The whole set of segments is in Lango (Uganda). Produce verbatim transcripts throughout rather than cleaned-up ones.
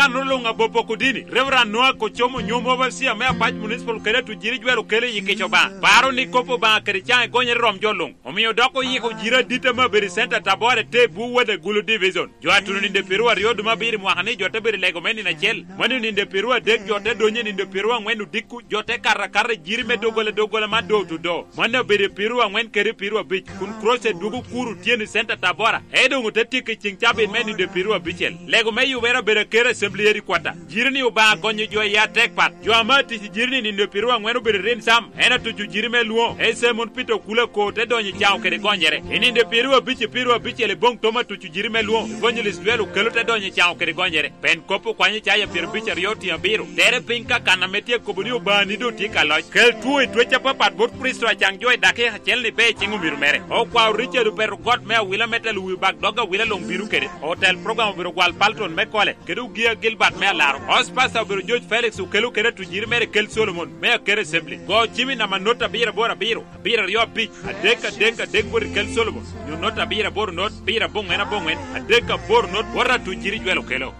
Anno luŋ abopo kodini, Reverend Noah Kocomo, nyom overseer me Apac Municipal kede atujiri jwero kele i kico Obaŋa. Paro ni kop Obaŋa kede caŋ egonyere rom jo luŋ. Omio dok oyiko jiri adit ame obedo i Center Tabora te bu Wode Gulu Division. Jo a tuno ninde piru aryo dwe me abiro i mwaka ni jo te bedo i lego me nino acel. Mano ninde piru adek jo te donyo i ninde piru angwen odiko, jo te kato akata i jiri me doggola doggola man do otudo. Mano obedo i piru angwen kede piru abic, kun Croce dwogo kuro tyen i Center Tabora. Ento doŋ ote tyeko i ceŋ cabit me ninde piru abicel. Lego me yubere obedo aker Assembly Headquarter. Jiri ni Obaŋa gonyo jo i atek pat. Jo ame atic i jiri ni ninde piru angwen obedo i Rin Sam. En atuco jiri me lwoŋo. Ese mon Peter Okula ko te donyo i caŋo kede gonyere. I ninde piru abic i piru abicel i boŋ tom atuco jiri me lwoŋo. Evangelist Joel Okelo te donyo i caŋo kede gonyere. Pen kop okwanyo caya pyerabic aryo otiŋ abiro. Tere piny ka kan ame tye kobo ni Obaŋa ni doŋ tye ka loc. Kel two i twec apapat bot Kricito acaŋ jo i dakika acel ni be i ciŋ omiro mere. Okwao Richard Opeto got me awila me telo wi bak dog awila luŋ bino kede. Otel program obedo gwal Palton me kole, kede Ogia Gilbert me alaro. Os pasta obedo George Felix Okelo kede atujiri mere Kel Solomon me Akere Assembly. Go cimi nama not abiro aboro abiro, abiro aryo abic, adek adek adek bot i Kel Solomon, nyo not abiro aboro not, abiro aboŋwen aboŋwen, adek aboro not, bot atujiri Jwel Okelo.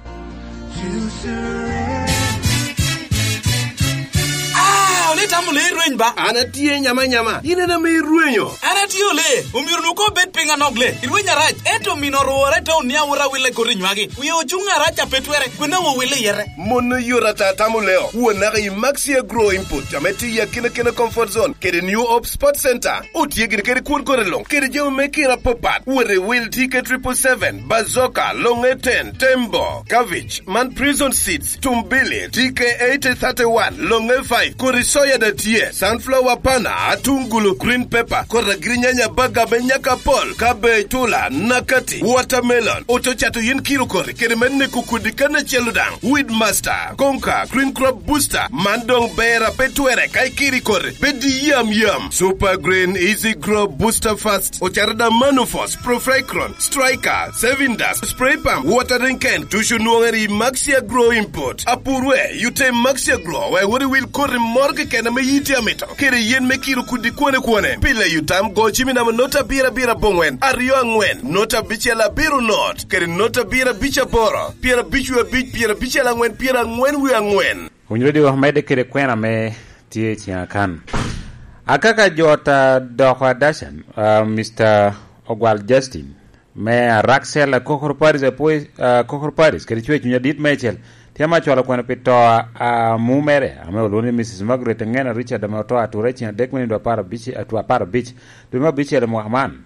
Ah, ole tamo le irweny ba? An atye nyama nyama, in en ame irwenyo. An atye ole, omiro nu ko bed piny anok le, irweny arac, ento mino orwore te onia wot awille koti nywagi. Wie ocuŋ arac a pe twere, kwena wo wille yete. Mon oyot ata tamo leo, wo naka i Maxi Agro Input, ame tye i akina kina Comfort Zone, kede New Hope Sports Center. Otye gire kede kwon kore luŋ, kede jami me kina apapat. Wot i wil T K triple seven, Bazooka, Longe ten, Tembo, Cabbage, man Prison Seeds, Tumbili, T K eighty thirty-one, Longe five, kodi soya da tye, sunflower pana, atungulu, green pepper, kodi agirinyanya baga me nyaka pol, cabbage, tula, nakati, watermelon, oto cato yin kiro kori, kede me neko kodi kan acel odaŋ, Weed Master, Conquer, Green Crop Booster, man doŋ ber a pe twere ka ikiri kore, bed i yam yam. Super Green Easy Grow Booster Fast, ocaro da Manufos, Profricron, Striker, Saving Dust, Spray Pump, Watering Can, tucu nwoŋere i Maxi Agro Import. Apurwe, yute Maxi Agro, wek wot iwil koti moro keken ame yi tye amito. Kede yen me kiro kudi kwane kwane. Pile yutam go cimi namo not abiro abiro aboŋwen, aryo aŋwen, not abicel abiro not, kede not abiro abic aboro, pyerabic wie abic, pyerabicel aŋwen, pyeraŋwen wie aŋwen. Winy redio medde kede kwena me tye i ciŋa kan. Akaka jot a doko adacan, ah, Mister Ogwal Justin, me Araxel, Akokoro Paris, apoi, ah, Akokoro Paris, kede cwer cuny adit meicel, tye ma acwalo kwena pi to a, a mumere, ame olwoŋo ni Missus Margaret Ngena Richard, ame oto atura i ciŋ adek me nindo apar abic, atwa apar abic, dwe me abicel i mwaka man.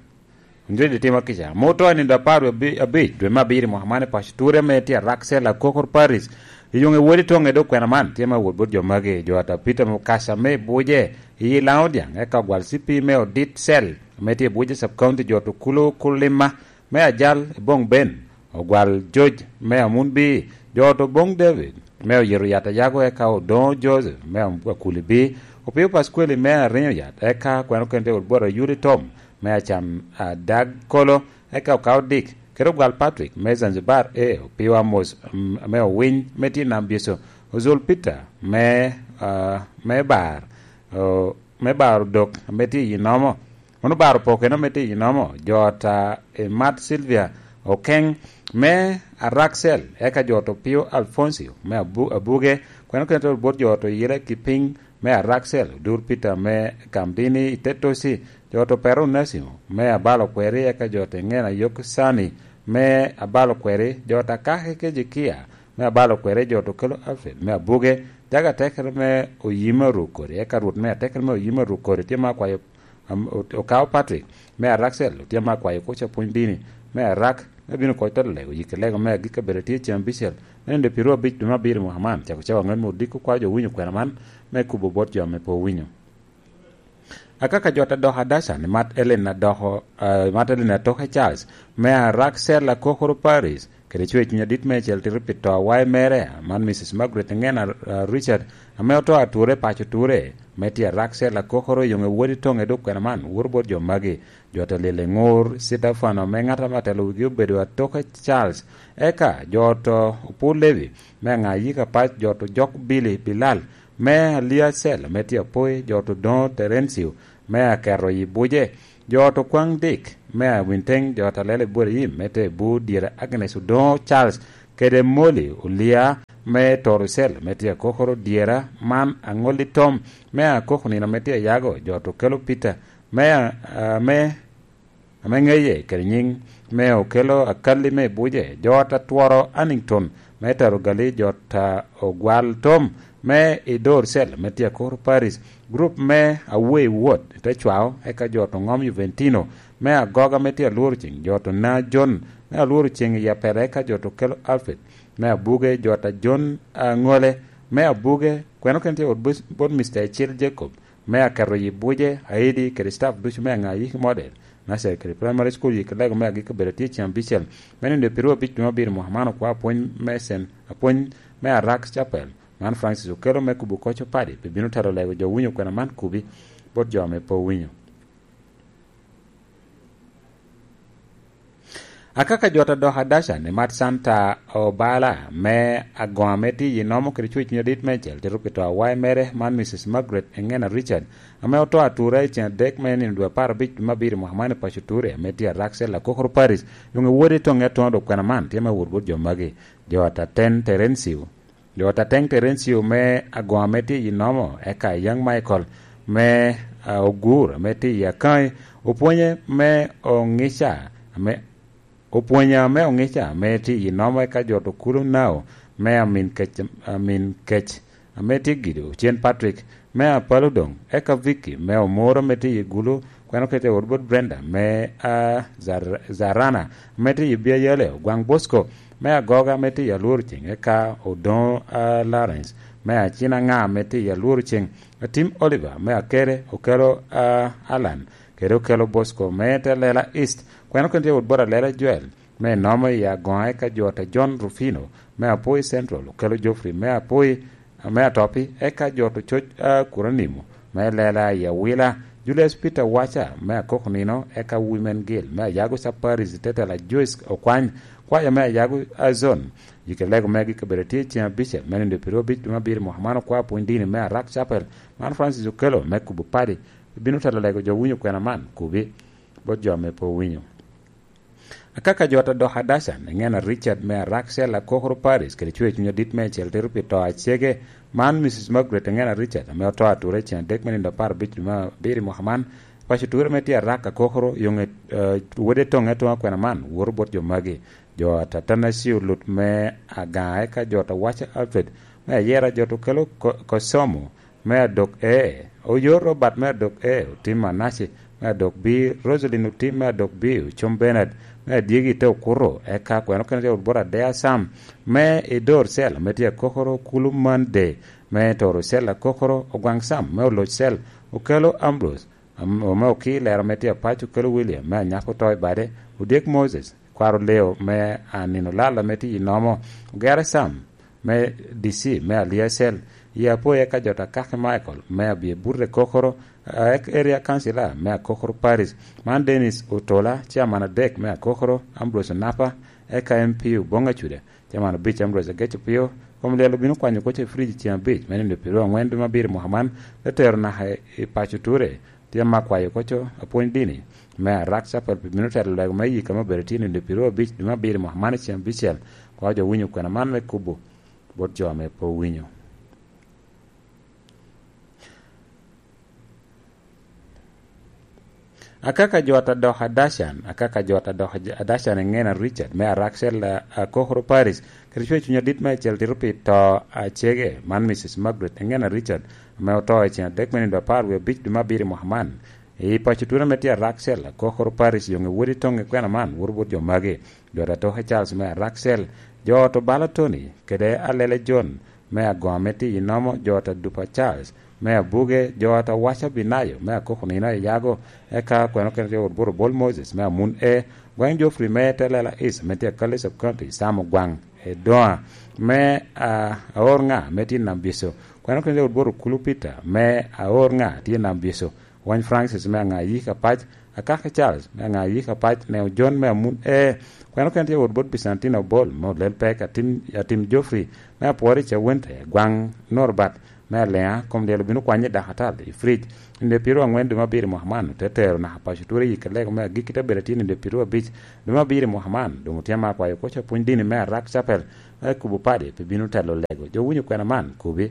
Onyo itimo kica. Ame oto i nindo apar wie abi-, abic, dwe me abiro i mwaka man i paco Ture ame tye Araxel, Akokor Paris. I yoŋe wodi toŋe dok kwena man, tye ma wot bot jo magi, jo ata Peter Mukasa me Buje, i Laŋo Diaŋ, eka Ogwal C P me Odit Cell, ame tye i Buje Sub County, jo to Kulo Kulima, me Ajal, i Boŋ Ben, Ogwal George, me Amun B, jo to Boŋ David, me Oyero Yat Ayago, eka Odoŋo Joseph, me Am-, Akuli B, Opio Paskweli, me Arinyo Yat, eka kwena okene tye wot bot Ayuli Tom, me Acam Adag Kolo, eka Okaodik, kede Ogwal Patrick, me Zanzibar, e, Opio Amos, mm, me Owiny, me tye i Nam Byeco, Ozol Peter, me, ah, me Bar, o, me Bar Odok, me tye i Nomo, Mano baro pokeno me tye i nomo, jo ata, eh, Mat Silvia Okeng me Araxel, eka jo to Pio Alfoncio me Abu-, Abuge, kweno kene to bot jo to Yire Kiping me Araxel, Odur Peter me Kamdini i Tetosi, jo to Pero Onasimo me Abalo Kweri, eka jo to Ngena Yok Sani me Abalo Kweri, jo ta Kake Kejekia me Abalo Kweri, jo to Kelo Alfred me Abuge, jaga atekere me Oyima Rukori, eka Rwot me atekere me Oyima Rukori tye ma akwayo Am-, o-, Okao Patrick, me Araxel, otyem akwayo kuc apwony dini, me Arak, me bino koc telo lego, yik lego me agikki abedo tye cen abicel, me nino pyeraryo abic dwe me abiro mwaka man, cako cawa aŋwen me odiko kwa jo winyo kwena man, me kubo bot jo ame pe owinyo. Akaka jot adoko adaca ni Mat Ellen adoko, ah, Mat Ellen atoke Charles, me Araxel Akokoro Paris, kede cwer cuny adit meicel tito pi to awae mere, man Missus Margaret Ngena, ah, Richard, ame oto ature paco ture, me tye Araxel Akokoro i yoŋe wodi toŋe dok kwena man, wuro bot jo magi, jo te lile ŋur, Citafano, me ŋat ame atelo wigi obedo atoke Charles, eka jo to Opur Levi, me aŋa yika pac, jo to Jok Billy Bilal, me Aliacel, me tye Apoi, jo to Doŋo Terencio, me aketo i buce, jo to Kwaŋ Dik, me Awinteng, jo to Alele Ibrahim, me te Bur Dyere Agnes Odoŋo Charles, kede Moli Olia me Torocel me tye akokoro dyera man aŋolli tom me akoko nino me tye ayago jo to kelo Peter me, a, me, ame ŋeye kede nyiŋ me okelo akalli me buje, jo ta tworo Annington me taro gali, jo ta ogwal tom me i Torocel me tye akokoro Paris, group me Away Ward te cwao, eka jo to ŋom Juventino me agoga me tye alworo ceng, jo to na John me alworo ceng i apel, eka jo to kelo Alfred me abuge, jo ta John aŋole me abuge, kweno kene tye wot bot, bot Mister Ecil Jacob me aketo yi buje, Aidi kede staff ducu me aŋa yiki model, Nasser kede primary school yiki lego me agikki obedo tye cen abicel, me nino dwe piru abic dwe me abiro mwaka man okwa apwony me cen, apwony me Arak Chapel, man Francis okelo me kubo koc opadi, pi bino telo lego jo winyo kwena man kubi bot jo ame pe owinyo. Akaka jot adok adaca ni mat Santa Obala me agoŋ ame tye i nomo kede cwec cwiny adit meicel tito pi to awae mere man Mrs Margaret Engena Richard, ame oto atura i ceng adek me nino dwe apar abic dwe me abiro mwaka man i paco Ture ame tye Araksel Akokoro Paris, yoŋe wode toŋe atoŋo dok kwena man tye me wot bot jo magi. Jo ataten Terencio Jo tateŋ Terencio me agoŋ ame tye i nomo, eka Young Michael me, a, Ogur ame tye i Akaŋi, opwonye me oŋica ame, opwonye ame oŋica ame tye i nomo, eka jot okulu Nao me Amin Kec, Amin Kec ame tye Gido, Cen Patrick me Apalo Doŋ, eka Vicky me Omoro ame tye i Gulu, kweno kete wot bot Brenda me, a, Zar-, Zarana ame tye i Biayale, Ogwaŋ Bosco me Agoga ame tye i Alworo Ceng, eka Odoŋo, a, Lawrence me Acina Ŋa ame tye i Alworo Ceng, Atim Oliver me Akere, Okelo, a, Alan, kede Okelo Bosco me te Lela East, kweno kene tye wot bot Alela Joel me nomo i agoŋa, eka jo ta John Rufino me Apoi Central, Okelo Geoffrey me Apoi, me Atopi, eka jot ococ, a, Kuranimo me Lela i Awila, Julius Peter Waca me Akoko Nino, eka Women Guild me Ayago Saparis, Tetela Joyce Okwany, kwaya me Ayago Azon, yike lego megi kabedo tye ceng abicel me nino dwe piru abic dwe me abiro mwaka man okwa pwony dini me Arak Chapel, man Francis Okelo me kubo padi, bino telo lego jo winyo kwena man kubi bot jo ame pe owinyo. Akaka jot adok adaca, Engena Richard me Araksel Akokoro Paris kede cwer cuny adit meicel tito pi to acege, man Mrs Margaret Engena Richard, ame oto atura i ceng adek me nino apar abic dwe me abiro i mwaka man, paco ture me tye Arak Akokoro, yoŋe, eh, wode toŋe atoŋa kwena man, woto bot jo magi. Jo atata Nacio Lut me Agaŋa, eka jo ta Waca Alfred me Ayera, jo to kelo Ko-, Kosomo me Adok E, Oyo Robert me Adok E, Otim Manace me Adok B, Rosalyn Otim me Adok B, Ocom Bernard me Adyegi te Okuto, eka kweno kene te Wot Bot Adea Sam me Idor Cell me tye Akokoro, Kulu Mande me Toro Cell Akokoro, Ogwaŋ Sam me Oloc Cell, Okelo Ambrose, am-, ome Oki Lero me tye Apac, Okelo William me Anyako Toi Bade, Odyek Moses, Kwaro Leo me Anino Lal ame tye i Nomo, Ogere Sam me D C me Aliacel, i Apoya ka jot Akaki Michael me Abye Burre Kokoro, a, ek-, Area Councilor me Akokoro Parish, man Dennis Otola, Chairman adek me Akokoro, Ambrose Onapa, eka M P Oboŋ Acuda, Chairman abic Ambrose Ageco Pio, kom lyel obino kwanyo koc i fridge ceng abic me nino pyeraryo aŋwen dwe me abiro mwaka man, te tero naka i paco Ture. Tye ame akwayo koco apwony dini me Arak Chapel pi bino telo lego me yika me obedo tye nino pyeraryo abic dwe me abiro mwaka man i ceng abicel, kwa jo winyo kwena man me kubo bot jo ame pe owinyo. Akaka jot adok adacan, akaka jot adok adacan Engena Richard me Araksel, a, Akokoro Parish, kede cwer cuny adit me acel tito pi to acege, man Mrs Margaret Engena Richard, ame oto i ceng adek me nino apar wie abic dwe me abiro i mwaka man. I paco Ture ame tye Araksel, Akokoro Parish, yoŋe wodi toŋe kwena man, woto bot jo magi. Jo ata Toke Charles me Araksel, jo ot Obala Tony, kede Alele John me Agoŋ ame tye i Nomo, jo ata Dupa Charles me Abuge, jo ata Waca Binayo me Akoko Nino i Yago, eka kweno kene tye wot bot Obol Moses me Amun E, Gwaŋ Geoffrey me Telela East ame tye Akali Sub County, Sam Ogwaŋ Edoŋa me, a, Aor Ŋa ame tye i Nam Bico, kweno kene tye wot bot Okulu Peter me Aor Ŋa tye i Nam Bico, Wany Francis me Aŋa Yika Pac, Akaki Charles me Aŋa Yika Pac, Neo John me Amun E, kweno kene tye wot bot Bicantino Obol me Olel Pek, Atim, Atim Geoffrey me Apwori Cawente, Gwaŋ Norbert Me aliŋa, kom lyel obino kwanye dakatal i fridge. Nino dwe pyeraryo angwen dwe me abiro i mwaka man, ote tero naka paco ture i yikki lego me agikki, te bedo atye nino dwe pyeraryo abic dwe me abiro i mwaka man. Doŋ otye ame akwayo kwo ca pwony dini me Arak Chapel me kubo padi pe bino telo lego. Jo winyo kwena man, kubi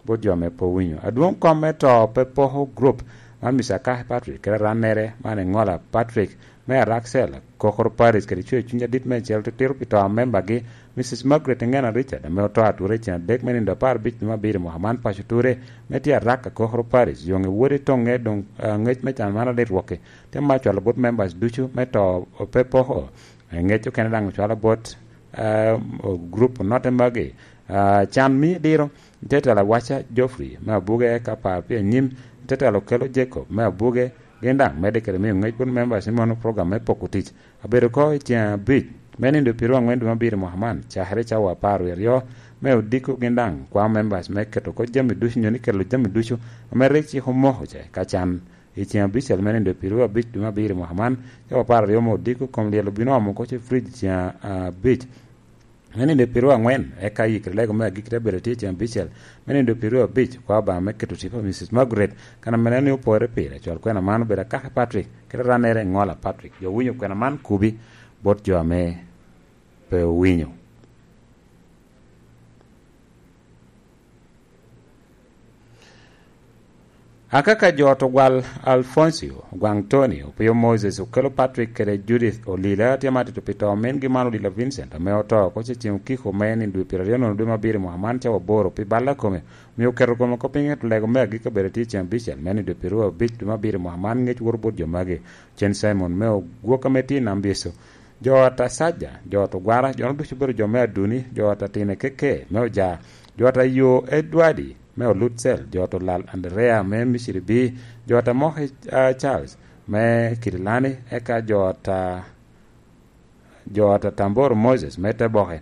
bot jo ame pe owinyo. Adwoŋ kom me to pe poko grup man, Mister Akahe Patrick kede arannere man, Eŋola Patrick me Araksel, Kokoro Parish, kede cweyo cuny adit meicel titiro pi to a membagi, Missus Margaret Eŋena Richard, ame oto atura i ceng adek me nino apar abic dwe me abiro i mwaka man. Paco ture me tye Arak, Kokoro Parish, yoŋe wode toŋe doŋ, ah, ŋec me can man alit rwokki. Tye ma cwalo bot members ducu me to pe poko. Eh, ŋec okene daŋ ocwalo bot, ah, o-, group onotte magi. Ah, can mio diro, te telo Awaca Geoffrey me Abuge, eka par pi anyim, te telo Kelo Jacob me Abuge, gin daŋ medde kede miyo ŋec bot members ni mono program me poko tic abedo oko i ceng abic me nino dwe pyeraryo angwen dwe me abiro i mwaka man, cakere cawa apar wie aryo me odiko. Gin daŋ kwao members me keto oko jami ducu, nyo ni kelo jami ducu ame rik cik omoko ca ka can. I ceng abicel me nino dwe pyeraryo abic dwe me abiro i mwaka man, cawa apar aryo me odiko, kom lyel obino omo oko ce fridge i ceng abic. Me nino dwe pyeraryo angwen, eka yikere lego me agikki te bedo tye i ceng abicel. Me nino dwe pyeraryo abic, kwa Obaŋa me keto tipo a Missus Margaret, kan ame en ni opore pire, cwal kwena man obedo Akaka Patrick, kede rannere Ŋola Patrick. Jo winyo kwena man kubi bot jo ame pe owinyo. Akaka jo to gwal Alfoncio, Ogwaŋ Tony, Opio Moses, Okelo Patrick kede Judith Olila tye ma tito pi to omingi man Olila Vincent, ame oto oko ce ceng okiko me nino dwe pyeraryo nono dwe me abiro i mwaka man cawa aboro pi balla kome, omio oketo kome oko piny, ento lego me agikki obedo tye ceng abicel me nino dwe pyeraryo abic dwe me abiro i mwaka man. Ŋec woto bot jo magi, Cen Simon me Ogwok ame tye i Nam Byeco, jo ata Saja, jo ata Ogwara, jo-nu ducu obedo jo me Aduni, jo ata Tine Keke me Oja, jo ata Yo Edwadi me Olutsel, jo ata Olal Andrea me Miciri Bi, jo ata Moki, ah, Charles me Kirilani, eka jo ata, jo ata Tamboro Moses me Teboke,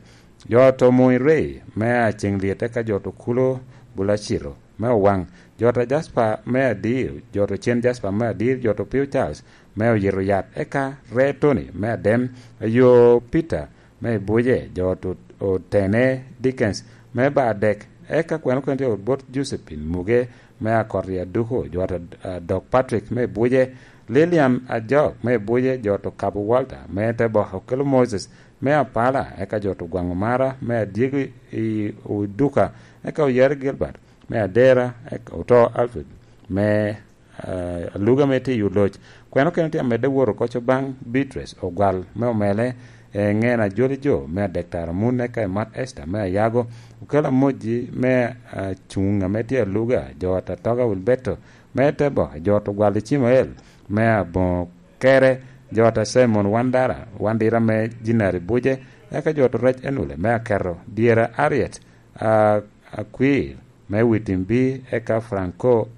jo ata Omoi Rei me Aceŋ Lyet, eka jo ata Okulo Bulacito me Owaŋ, jo ata Jasper me Adir, jo ata Cen Jasper me Adir, jo ata Opio Charles me Oyito Yat, eka Ree Tony me Adem, Ayo Peter me Ibuje, jo ata Otene Dickens me Badek, eka kweno kene tye bot Josephine Muge me Akot i Aduku, jo ata, ah, Dok Patrick me Ibuje, Lilian Ajok me Ibuje, jo ata Okabo Walter me Teboke, Okelo Moses me Apala, eka jo ata Ogwaŋ Omara me Adyegi i Oduka, eka Oyare Gilbert me Adera, eka oto Alfred me, ah, Aluga me tye i Oloc. Kweno kene tye amedde wot oko co baŋ Beatrice Ogwal me Omele, eh, Ŋena Joli Jo me Adek Tara Mun, eka Imat Esther me Ayago, Okelo Amoji me, ah, Cuŋ ame tye Aluga, jo ata Toga Wilberto me Teboke, jo ata Ogwal Icimael me Aboŋo Kere, jo ata Simon Wandara, Wandira me Jinari Buje, eka jo ata Rec Enule me Aketo, dyera Ariet, ah, Akwir me Witimbi, eka Franco,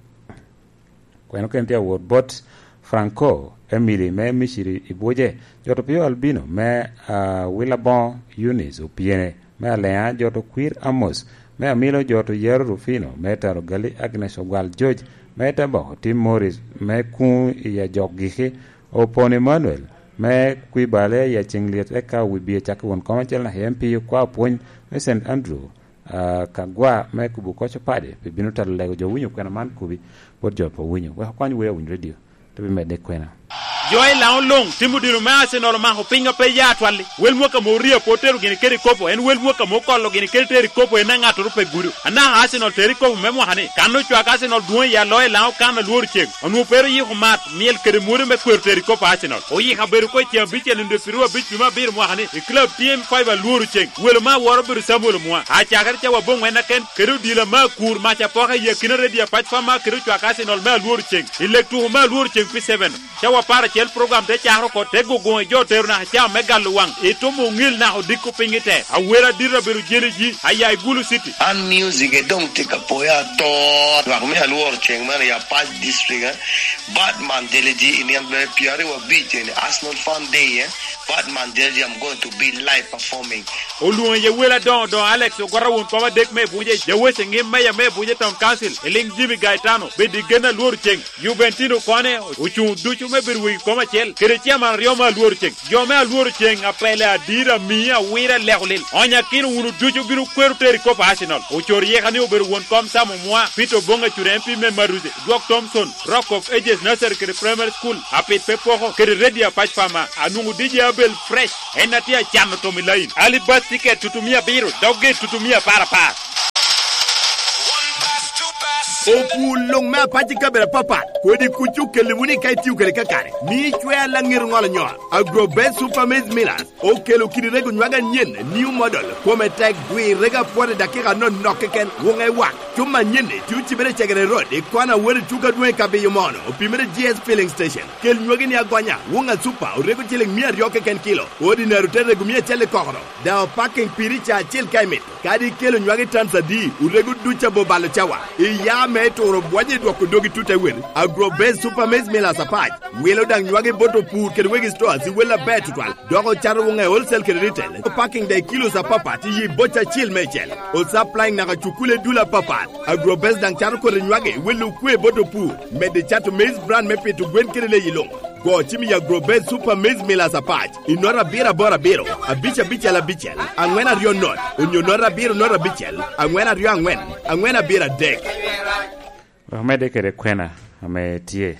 kweno kene tye awot bot Franco Emily me Miciri i Buje, jo ata Opio Albino me, ah, Wilaboŋo, Eunice Opiene me Aleŋa, jo ata Okwir Amos me Amilo, jo ata Yaro Rufino me Taro Gali, Agnes Ogwal George me Teboko, Tim Morris me Kuŋ i Ajok Giki, Opon Emmanuel me Kwibale i Aceŋ Lyet, eka Wibie Cakki Won Kom acel naka i M P, Okwa Opwony me Saint Andrew, ah, Kagwa me Kubu Koco Padi, pi bino telo lego jo winyo kwena man kubi bot jo pe owinyo. Wek okony wer Awiny Radio, te bimedde kwena. Jo i Laŋo luŋ timo dino me Arsenal omako piny a pe ya atwal-li. Wel mwaka mo oria pe otero gini kede kopo, en wel mwaka mo okolo gini kede tero i kopo, en aŋattoro pe gudo. Anaka Arsenal tero i kopo me mwaka-ni. Kan ocwak Arsenal dwoŋ i aloyo i Laŋo kan alworo ceng. Onwoŋo pe ru yiko mat, myel kede mwodo me kwero tero i kopo Arsenal. Oyiko abedo oko i ceng abicel nino dwe piru abic dwe me abiro mwaka-ni i club T M five alworo ceng. Welo me awora obedo Samuel Omwa. Acakere cawa aboŋwen aken, kede odila me akur mac apoka i akina redio apac pa ma kede ocwak Arsenal me alworo ceng. I lek tuko me alworo ceng pi seven, cawa apar acel program te cakere oko, te guguŋ i jo otero naka caa me galo waŋ, i tomo oŋil naka odiko piny i te. Awera adito abedo jeli ji, aya i Gulu City. An music e doŋ tye ka poya ato. Lwak me alworo ceng man i Apac District, eh? Batman jeli ji i niang dwe pyeraryo abic eni, Arsenal Fun Day, eh? Batman jeli ji, I'm going to be live performing. Olwoŋo iye wel adoŋo doŋo Alex Ogwata won kom adek me Buje, jaweche ŋim meya me Buje Town Council, i liŋ Jimmy Gaetano, bed i gen alworo ceng. Juventino kone ocuŋ ducu me bedo wegi Kom acel kede ciaman aryo me alworo ceŋ. Jo me alworo ceŋ apele adira mia awira leko lil. Onyakino wunu ducu bino kwero teri kop Arsenal. Ocor yeka ni obedo won kom Sam Omwa, Peter Oboŋ Acura M P me Maruze, Dwok Thompson, Rock of Ages Nursery kede Primary School, Apit pe poko, kede Radio Apac Pama, anwoŋo D J Abel Fresh, en atye acano tom i lain. Ali bus ticket tutumia abiro, dogge tutumia apar apar. Opwul luŋ me apac i kabedo apapat, kodi kuc okelli wunu i ka itio kede kakare. Mi icwer laŋet oŋolo nyol. Agro Best Super Maize Millers okelo kidi rego nywag anyen, new model, kome tek, gwir rego apwot i dakika anonok keken, wuŋe wak. Cuma anyen-ni tye ocibere i Cegere Road, i kona wot i tuko adwoŋ i Kabiyo Mono, opimere G S Filling Station. Kel nywagi ni agonya, wuŋa Super, orego ciling mia aryo keken kilo, ordinary ote rego mia acel i kokoro. Daŋ opaking piri ca acel ka imito. Kadi ikelo nywagi tans adi, orego duc abo balo cawa. Iya me turo bwonyo i dwoko dogi tut awel. Agro Base Super Maize Millers apac. Wilo daŋ nywagi bot opur kede wegi stores i wel aber tutwal. Dok ocato wuŋe wholesale kede retail. Opaking daŋ i kilos apapat i yi boca acil meicel. Osupplying naka cukule dul apapat. Agro Base daŋ cato kodi nywagi i wel okwe bot opur. Medde cato maize brand me pito gwen kede leyi luŋ. Go cim i Agro Base Super Maize Millers apac. I nota abiro aboro abiro, abic abicel abicel, aŋwen aryo not, onyo nota abiro nota abicel, aŋwen aryo aŋwen, aŋwen abiro adek. Wek omedde kede kwena ame tye.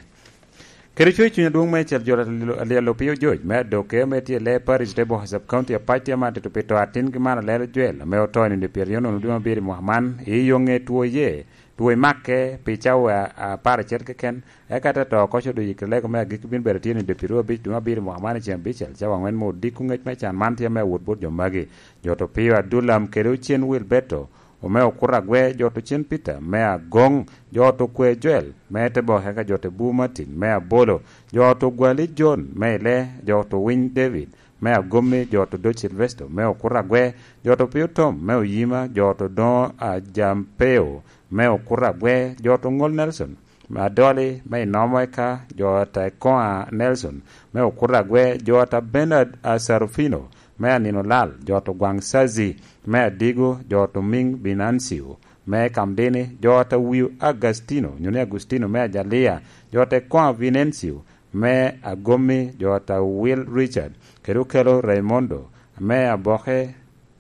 Kede cwer cuny adwoŋ meicel jo alyel opio joc me adoke ame tye i lee parish te Boha Sub County apac tye man tito pi to atingi man Alelo Jwel ame oto i nino pyeraryo nono dwe me abiro i mwaka man, i yo ŋe two ye, two i make pi cawa apar acel keken, eka te to oko co doyo i Kilego me agikki bino bedo tye ni dwe pyeraryo abic dwe me abiro i mwaka man i ceng abicel, cawa aŋwen me odiko. Ŋec me can man tye me awot bot jo magi, jo to Pio Adulam kede Ocen Wilberto, Omeo Kuragwe, jo to Cen Peter me Agoŋ, jo to Kwe Joel me Tebok, eka jo to Bu Martin me Abolo, jo to Gwali John me Ile, jo to Winy David me Agomi, jo to Doc Silvesto me Okuragwe, jo to Pio Tom me Oyima, jo to Doŋo Ajampeo me Okuragwe, jo to Ŋol Nelson Adoli me Inomo, eka jo ta Ekoŋa Nelson me Okuragwe, jo ta Bernard Asarufino me Anino Lal, jo to Gwaŋ Sazi me Adigo, jo to Miŋ Binancio me Kamdini, jo ta Wiu Agastino, nyo ni Agustino me Ajalia, jo ta Ekoŋa Vinencio me Agomi, jo ta Will Richard, kede Okelo Raimondo me Aboke,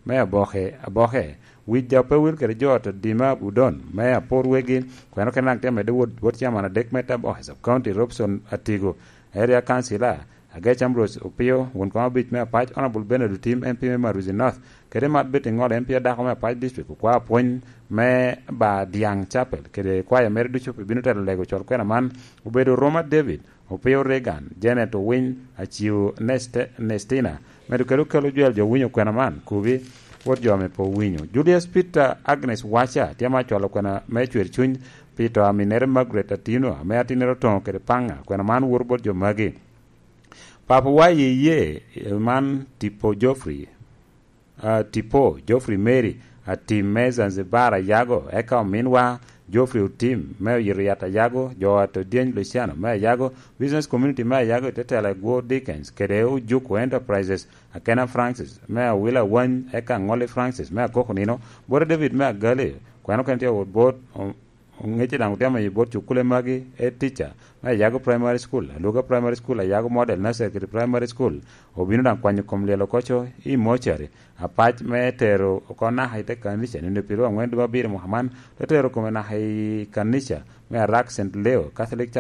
me Aboke, Aboke, Wic Jape Wil kede jo ta Dima Budon me Apor Wegi, kweno kene daŋ tye amedde wot, wot ciaman adek me Taboke Sub County, Robson Atigo, Area Councilor, Agec Ambrose Opio, won kom abic me Apac, Honorable Bernard Otim, M P me Maruzi North, kede Mat Betty Ŋolo, M P adako me Apac District, okwa apwony me Ba Diaŋ Chapel, kede kwaya mere ducu pe bino telo lego col kwena man, obedo Roma David, Opio Reagan, Janet Owiny, Aciu Neste-, Nestina, medo kede okelo jwel jo winyo kwena man, kubi, wot jo ame pe owinyo. Julius Peter Agnes Wacha, tye ma cwalo kwena me cwer cuny, pi to aminere Margaret Atino, ame atinere otoŋo kede Paŋa, kwena man woto bot jo magi. Papawa i ye man Tipo Geoffrey, ah, Tipo Geoffrey Mary, Atim me Zanzibar Ayago, eka ominwa Geoffrey Otim me Oyito Yat Ayago, jo at Odyeny Luciano me Ayago, Business Community me Ayago i te tela Gwo Dickens, kede Ojuko Enterprises, Akena Francis me Awila Wany, eka Ŋolli Francis me Akoko Nino, Bwota David me Agali, kweno kene tye awot bot, Oŋece daŋ otemo i bot cukule magi, e tica me Ayago Primary School, Aluga Primary School, Ayago Model Nursery kede Primary School, obino daŋ kwanyo kom lyel oko co i mocari. Apac me tero oko naka i te kanica, nino pyeraryo aŋwen dwe abiro mwaka man, te tero kome naka i kanica me Arak Saint Leo Catholic Chapel.